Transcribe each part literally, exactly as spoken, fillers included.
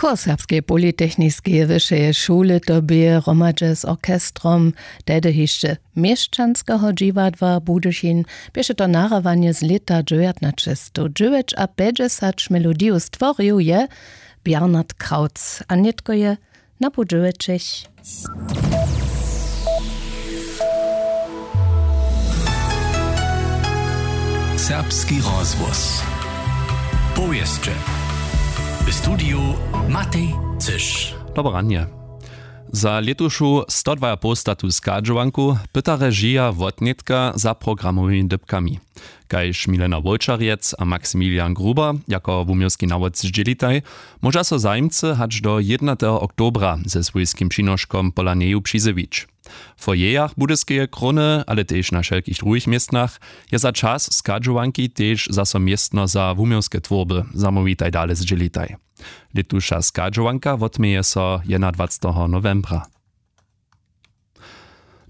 Chór serbskeje politechniskeje wyšeje šule to bě hromadźe z orchestrom tehdy hišće měšćanskeho dźiwadła Budyšin, běše to nahrywanje z lěta dźewjatnaćestowdźewjećapjećdźesat. Melodiju stworił je Bernard Krautz a nětko je na pół dźewjećich. Serbski rozhłos. Powěsće. W studiju Matej Cyš. Dobre ranje. Za lětušu stodwajapołstatu schadźowanku pyta režija wotnětka za programowymi dypkami. Kaž milena wowčarjec a maximilian gruber jako wuměłski nawod zdźělitaj, móža so zajimcy hač do jědnateho oktobra ze swójskim přinoškom pola njeju přizjewić. W foyerjach budyskeje króny ale tež na wšelkich druhich městnach je za čas schadźowanki tež zaso městno za wuměłske twórby. Zamołwitaj dale zdźělitaj. Lětuša schadźowanka wotměje so jedynadwaceteho nowembra.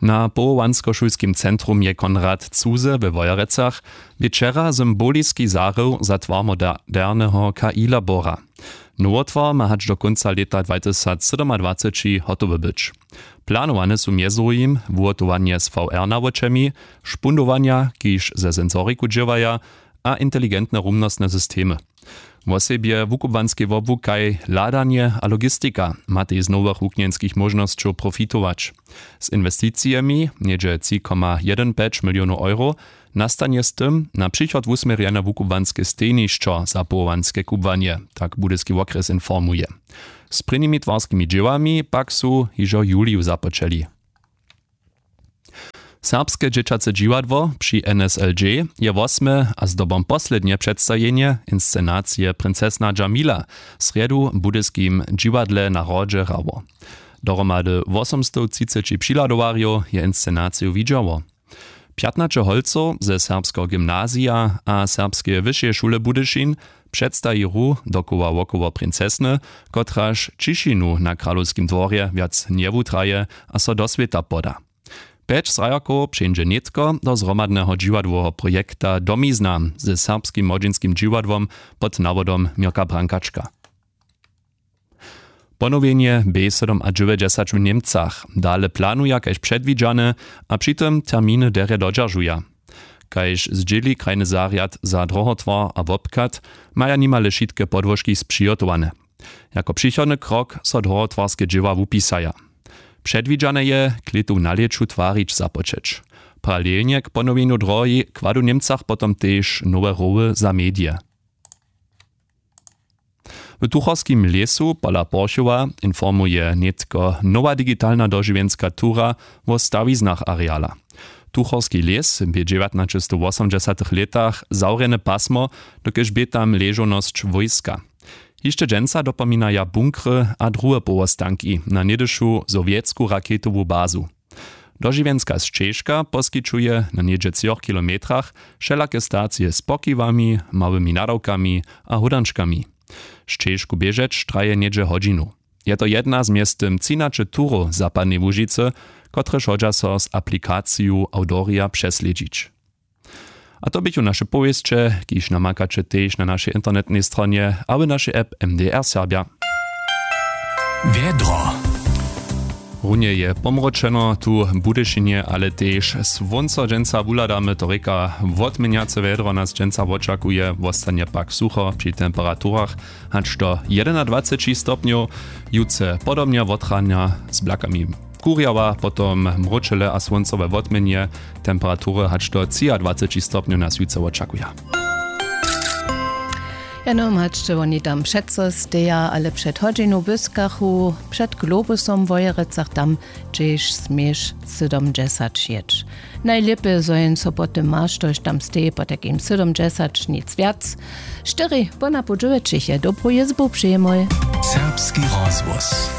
Na powołanskošulskim centrum je konrad cuze we wojerecach wječera symboliski zarył za twar moderneho kailabora. Nowotwar ma hač do kónca lěta dwatysacsydomadwaceći hotowy być. Planowane su mjez druhim wuhotowanje z vr nawočemi, špundowanja kiž ze sensoriku dźěłaja, a inteligentne rumnostne systemy. Wosebje wukubłanskej wobłukaj hladanje a logistika matej z nowych wuknjenskich móžnosćow profitować. Z inwesticijemi něhdźe tři koma jedyn pjeć milionow euro nastanje z tym na přichod wusměrjene wukubłanske stejnišćo za powołanske kubłanje, tak budyski wokrjes informuje. Z prěnimi twarskimi dźěłami pak su hižo w juliju započeli. Serbske dźěćace dźiwadło při nslg je wosme a zdobom poslednje předstajenje inscenacije princesna džamila w srjedu w budyskim dźiwadle na hrodźe hrało. Dohromady wosomstowtřiceći přihladowarjow je inscenaciju widźało. Pjatnaće holcow ze serbskeho gymnazija a serbskeje wyšeje šule budyšin předstaji hru dokoła wokoło princesny, kotraž ćišinu na kralowskim dworje wjac njewutraje a so do swěta poda. Pjeć zrajokow přeńdźe nětko do zhromadneho dźiwadłoweho projekta domizna ze serbskim młodźinskim dźiwadłom pod nawodom měrka brankačka. Ponowjenje b sydomadźewjećdźesat w němcach dale planuja kaž předwidźane, a při tym terminy derje dodźeržuja. Kaž zdźěli krajny zarjad za drohotwar a wobchad, maja nimale wšitke podłožki spřihotowane. Jako přichodny krok so drohotwarske dźěła wupisaja. Předwidźane je klětu w nalěću twarić započeć. Paralelnje k ponowjenju drohi kładu w němcach potom tež nowe roły za medije. W tuchorskim lěsu pola porchowa informuje nětko nowa digitalna dožiwjenska tura wo stawiznach areala. Tuchorski lěs bě w dźewjatnaćestowwosomdźesatych lětach zawrjene pasmo, dokelž bě tam ležownosć wójska. Hišće dźensa dopominaja bunkry a druhe powostanki na něhdyšu sowjetsku raketowu bazu. Dožiwjenska sćežka poskićuje na něhdźe třoch kilometrach wšelake stacije z pokiwami, małymi nadawkami a hódančkami. Sćežku běžeć traje něhdźe hodźinu. Je to jedna z mjeztym třinaće turow zapadnej łužicy, kotrež hodźa so z aplikaciju awdorija přeslědźić. A to běchu naše powěsće, kiž namakaće tež na našej internetnej stronje a w našej app mdr serbja. Wjedro. Runje je pomročeno tu w budyšinje ale tež słónco dźensa wuhladamy to rěka. Wotměnjace wjedro nas dźensa wočakuje wostanje pak sucho při temperaturach hač do jedynadwaceći stopnjow. Jutře podobnje wotranja z blakami kurjała potom mróčele a słóncowe wotměnje. Temperatury hač do třiadwaceći stopnjow nas jutře wočakuja. Jeno mačće woni tam přeco steja ale před hodźinu błyskachu před globusom w wojerecach tam hdźež směš sydomdźesat jěć. Najlěpje zo jen so po tym maš tož tam steji potajkim sydomdźesat nic wjac. Štyri póna pół dźewjećich je dobru jězbu přijemoj. Serbski rozhłos.